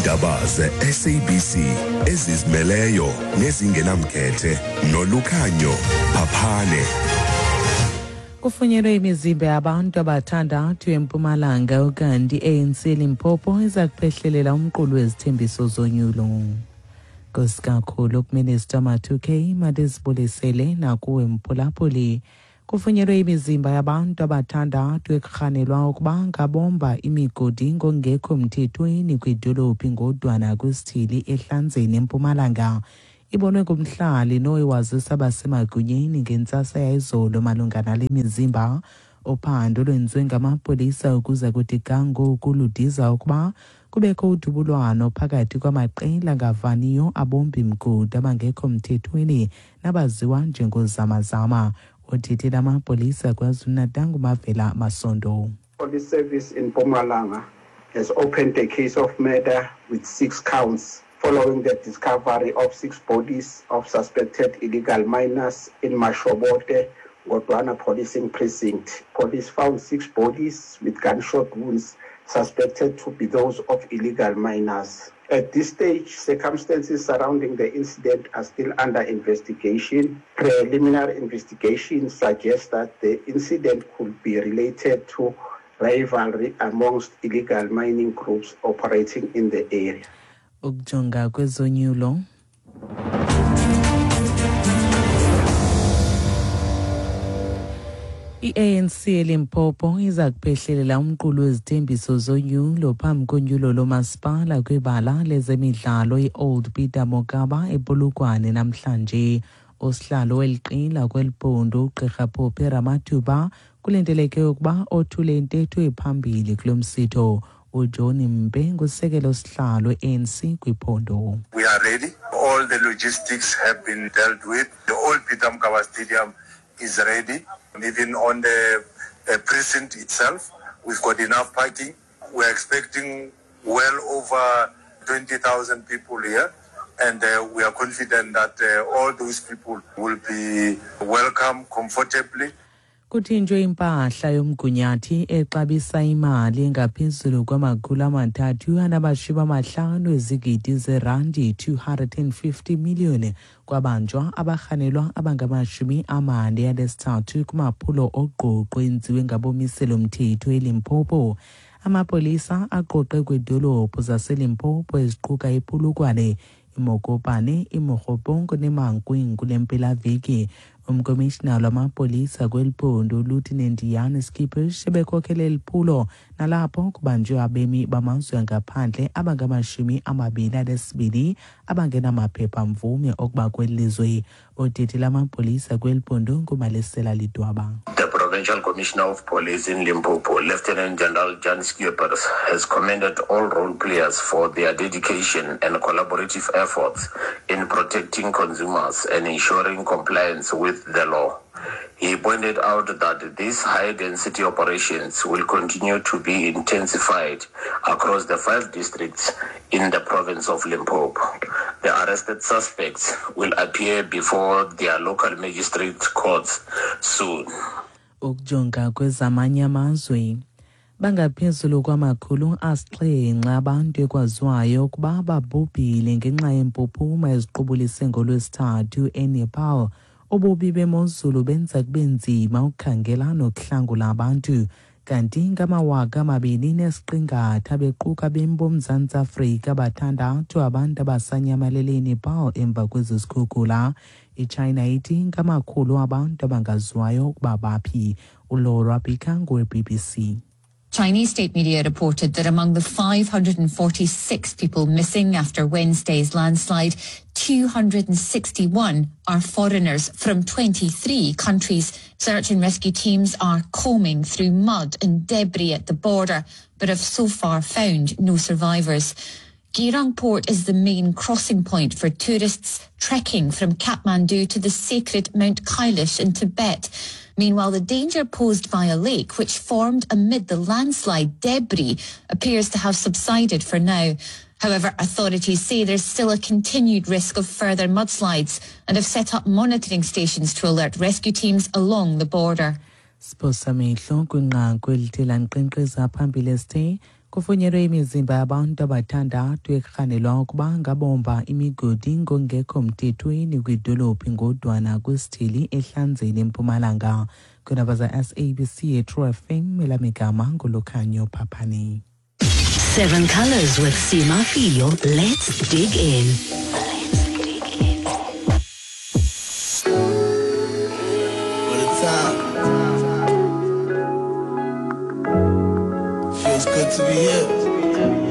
Iindaba ze-SABC ezizimeleyo nezingenamkhethe nolukhanyo Phaphane. Kufunyenwe imizimba yabantu abathandathu eMpumalanga ukanti i-ANC Limpopo iza kuphehlelela umqulu wezithembiso zonyulo. Nkosi kakhulu kuMinister Mathuke madizibulisele nakuwe mphulaphuli. Kufunyenwe imizimba yabantu abathandathu ekurhanelwa ukuba ngabomba imigodi ngokungekho mthethweni kwidolophu ngodwana kwisithili eHlanzeni eMpumalanga. Ibonwe ngumhlali noye wazisa abasemagunyeni ngentsasa yayizolo malunga nale mizimba. Uphando lwenziwe ngamapolisa ukuza kuthi ga ngoku ludiza ukuba kubekho udubulwano phakathi kwamaqela angavaniyo abombi mgodi abangekho mthethweni nabaziwa njengozamazama. Othethela amapolisa KwaZulu-Natal nguMavela Masondo. Police Service in Mpumalanga has opened a case of murder with 6 counts following the discovery of 6 bodies of suspected illegal miners in Mashobote, Godwana Policing Precinct. Police found 6 bodies with gunshot wounds suspected to be those of illegal miners. At this stage, circumstances surrounding the incident are still under investigation. Preliminary investigation suggests that the incident could be related to rivalry amongst illegal mining groups operating in the area. Ukujonga kwezonyulo. I-ANC eLimpopo iza kuphehlelela umqulu wezithembiso zonyulo phambi konyulo lomasipala kwibala lezemidlalo i-Old Peter Mokaba ePolokwane namhlanje. Usihlalo weli qela kweli phondo uGqirha Phophi Ramathuba kulindeleke ukuba othule intetho ephambili kulo msitho. uJohn Mpe ngusekelo sihlalo e-ANC kwiphondo. We are ready. All the logistics have been dealt with. The Old Peter Mokaba Stadium is ready. Even on the precinct itself, we've got enough parking. We're expecting well over 20,000 people here. And we are confident that all those people will be welcome comfortably. Kuthinjwe impahla yomgunyathi exabisa imali engaphezulu kwamakhulu amathathu anamashumi amahlanu ezigidi zerandi 250 million kwabanjwa abarhanelwa abangamashumi amane anesithathu kumaphulo oqoqo enziwe ngabomiselo mthetho eLimpopo. Amapolisa aqoqe kwiidolophu zaseLimpopo eziquka iPolokwane, iMokopane, iMokgopong neMankweng kule mpelaveki. Umkomishinala wamapolisa kweli phondo uLieutenant Jan Scheepers ebekhokhele eli phulo nalapho kubanjwe abemi bamazwe angaphandle abangamashumi amabini anesibini abangenamaphepha mvume okuba kweli lizwe. Odidi lamapolisa kweli phondo nguMalesela Lidwaba. The Provincial Commissioner of Police in Limpopo, Lieutenant General Jan Scheepers, has commended all role players for their dedication and collaborative efforts in protecting consumers and ensuring compliance with the law. He pointed out that these high-density operations will continue to be intensified across the 5 districts in the province of Limpopo. The arrested suspects will appear before their local magistrate courts soon. Ukujonga kwezamanye amazwe, bangaphezulu kwamakhulu asixhenxe abantu ekwaziwayo ukuba babhubhile ngenxa yempuphuma eziqubulise ngoLwesithathu eNepal. Ububi bemozulu benza kube nzima ukukhangela nokuhlangula abantu. Kanti ngamawaka amabini nesiqingatha bequka bemi boMzantsi Afrika bathandathu abantu abasanyamalele eNepal emva kwezi zikhukula. IChina ithi ngamakhulu abantu abangaziwayo ukuba baphi. ULaura Bika ngowe-BBC. Chinese state media reported that among the 546 people missing after Wednesday's landslide, 261 are foreigners from 23 countries. Search and rescue teams are combing through mud and debris at the border, but have so far found no survivors. Gyirong Port is the main crossing point for tourists trekking from Kathmandu to the sacred Mount Kailash in Tibet. Meanwhile, the danger posed by a lake which formed amid the landslide debris appears to have subsided for now. However, authorities say there's still a continued risk of further mudslides and have set up monitoring stations to alert rescue teams along the border. Siphosa amehlo kwinqaku elithe lanqenqeza phambili esithe. Kufunyenwe imizimba yabantu abathandathu ekurhanelwa ukuba ngabomba imigodi ngongekho mthethweni kwidolophu ngodwana kwisithili ehlanzeni empumalanga. Kwiindaba za-SABC eTrue FM, elamigama ngulukhanyo Phaphani. Seven Colors with Sima Fio. Let's dig in. What a time. Feels good to be here.